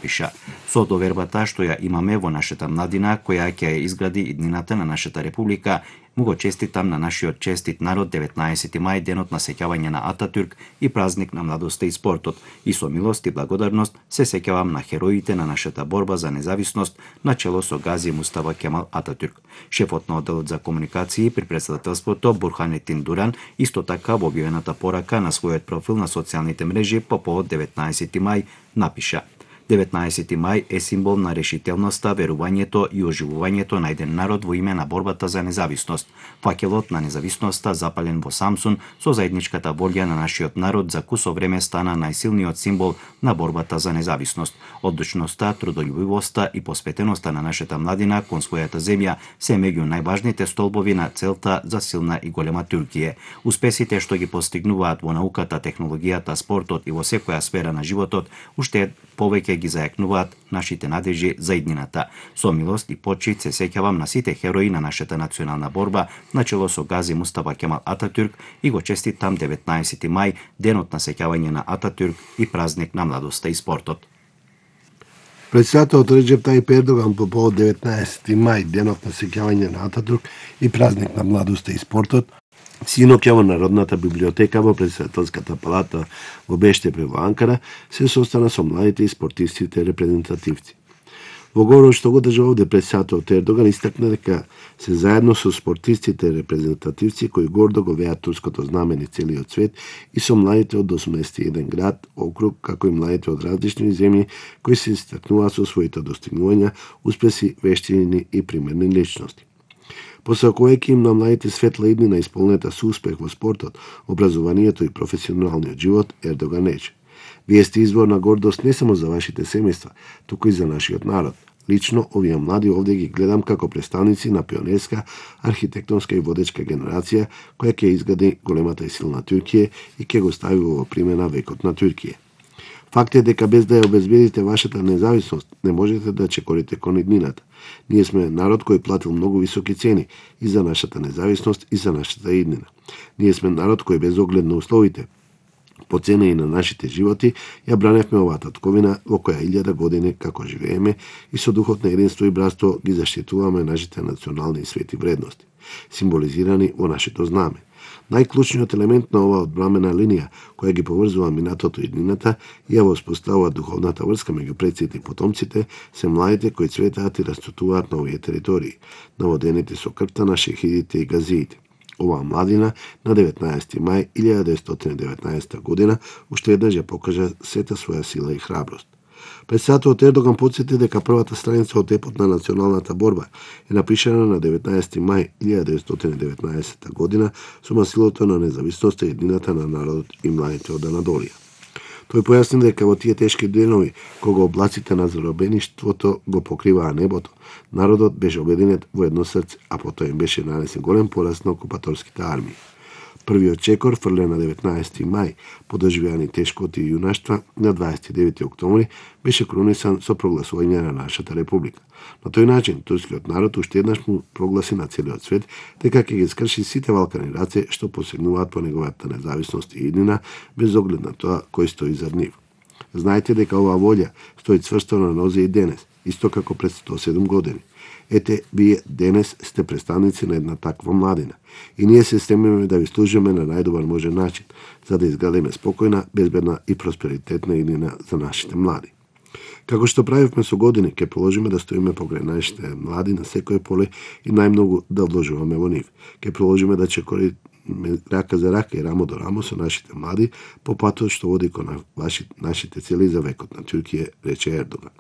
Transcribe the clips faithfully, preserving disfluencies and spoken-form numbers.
пиша. Со довербата што ја имаме во нашата младина, која ќе ја изгради иднината на нашата република, му го честитам на нашиот честит народ деветнаесети мај, денот на сеќавање на Ататурк и празник на младоста и спортот. И со милост и благодарност се сеќавам на хероите на нашата борба за независност на чело со Гази Мустафа Кемал Ататурк. Шефот на одделот за комуникации при претседателството Бурханетин Дуран исто така во објавената порака на својот профил на социјалните мрежи по повод деветнаесети мај напиша: деветнаесети мај е символ на решителноста, верувањето и оживувањето на еден народ во име на борбата за независност. Факелот на независноста, запален во Самсун, со заедничката волја на нашиот народ, за кусо време стана најсилниот символ на борбата за независност. Одлучноста, трудолюбивоста и посветеноста на нашата младина кон својата земја се меѓу најважните столбови на целта за силна и голема Туркија. Успесите што ги постигнуваат во науката, технологијата, спортот и во секоја сфера на животот, уште повеќе ги зајакнуваат нашите надежи за иднината. Со милост и почит се сеќавам на сите херои на нашата национална борба, начело со Гази Мустафа Кемал Ататурк, и го честитам деветнаесети мај, денот на сеќавање на Ататурк и празник на младоста и спортот. Председателот Реджеп Тајип Ердоган по повод деветнаесети мај, денот на сеќавање на Ататурк и празник на младоста и спортот, синоќа во Народната библиотека во Председателската палата во Бештепре во Анкара се состана со младите и спортистите репрезентативци. Во говорот што го држа овде председателот Ердоган истакна дека се заедно со спортистите репрезентативци кои гордо го веат турското знаме низ целиот свет и со младите од осумдесет и еден град, округ, како и младите од различни земји кои се истакнуваат со своите достигнувања, успеси, вештини и примерни личности. Посакувајќи им на младите светла иднина исполнета со успех во спортот, образованието и професионалниот живот, Ердоган рече: "Вие сте извор на гордост не само за вашите семејства, туку и за нашиот народ. Лично, овие млади овде ги гледам како представници на пионерска, архитектонска и водечка генерација која ќе изгради големата и силна Туркија и ќе го стави во примена векот на Туркија. Факт е дека без да ја обезбедите вашата независност, не можете да чекорите кон иднината. Ние сме народ кој платил многу високи цени и за нашата независност и за нашата иднина. Ние сме народ кој без оглед на условите, по цена и на нашите животи, ја браневме оваа татковина во која илјада години како живееме и со духот на единство и братство ги заштитуваме нашите национални и свети вредности, символизирани во нашето знаме. Најклучниот елемент на оваа одбрамена линија, која ги поврзува минатото и иднината и ја воспоставува духовната врска меѓу предците и потомците, се младите кои цветаат и растутуваат на овие територии, наводените со крвта на шехидите и газиите. Оваа младина на деветнаесети мај илјада деветстотини и деветнаесетта година уште еднаш ја покажа сета своја сила и храброст. Председателот Ердоган потсети дека првата страница од епот на националната борба е напишана на деветнаесети мај илјада деветстотини и деветнаесетта година со масилото на независноста и еднината на народот и младите од Анадолија. Тој појасни дека во тие тешки денови, кога облаците на заробеништвото го покриваа небото, народот беше обединет во едно срце, а потоа им беше нанесен голем пораз на окупаторските армии. Првиот чекор фрлен на деветнаесети мај, по доживеани тешкоти и јунаштва на дваесет и девети октомври, беше крунисан со прогласување на нашата република. На тој начин, турскиот народ уште еднаш му прогласи на целиот свет дека ќе ги скрши сите валкани раце што посегнуваат по неговата независност и иднина, без оглед на тоа кој стои зад нив. Знаете дека оваа волја стои цврсто на нозе и денес, исто како пред сто седум години. Ете, вие денес сте представници на една таква младина и ние се стремиме да ви служиме на најдобар можен начин, за да изградиме спокојна, безбедна и просперитетна иднина за нашите млади. Како што правивме со години, ќе положиме да стоиме покрај нашите млади на секој поле и најмногу да вложуваме во нив. Ќе положиме да чекориме рака за рака и рамо до рамо со нашите млади по патот што води кон нашите цели за векот на Туркија, рече Ердоган.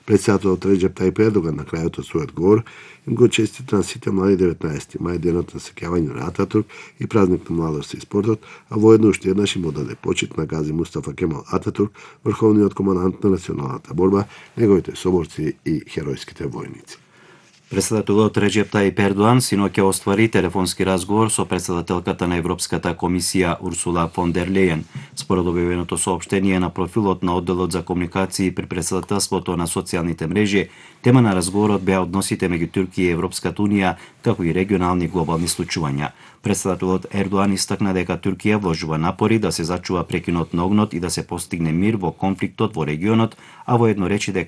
Председателот Реджеп Тајип Ердоган на крајот од својот говор им го честита на сите млади деветнаесети мај, денот на сеќавање на Ататурк и празник на младоста и спортот, а воедно уште еднаш им одаде почит на Гази Мустафа Кемал Ататурк, врховниот командант на националната борба, неговите соборци и херојските војници. Председателот Реджеп Таип Ердоан синоќа оствари телефонски разговор со председателката на Европската комисија Урсула фон дер Лејен. Според објавеното соопштение на профилот на одделот за комуникации при председателството на социјалните мрежи, тема на разговорот беа односите меѓу Турција и Европската унија, како и регионални глобални случувања. Председателот Ердоан истакна дека Турција вложува напори да се зачува прекинот на огнот и да се постигне мир во конфликтот во регионот, а воедно речи дека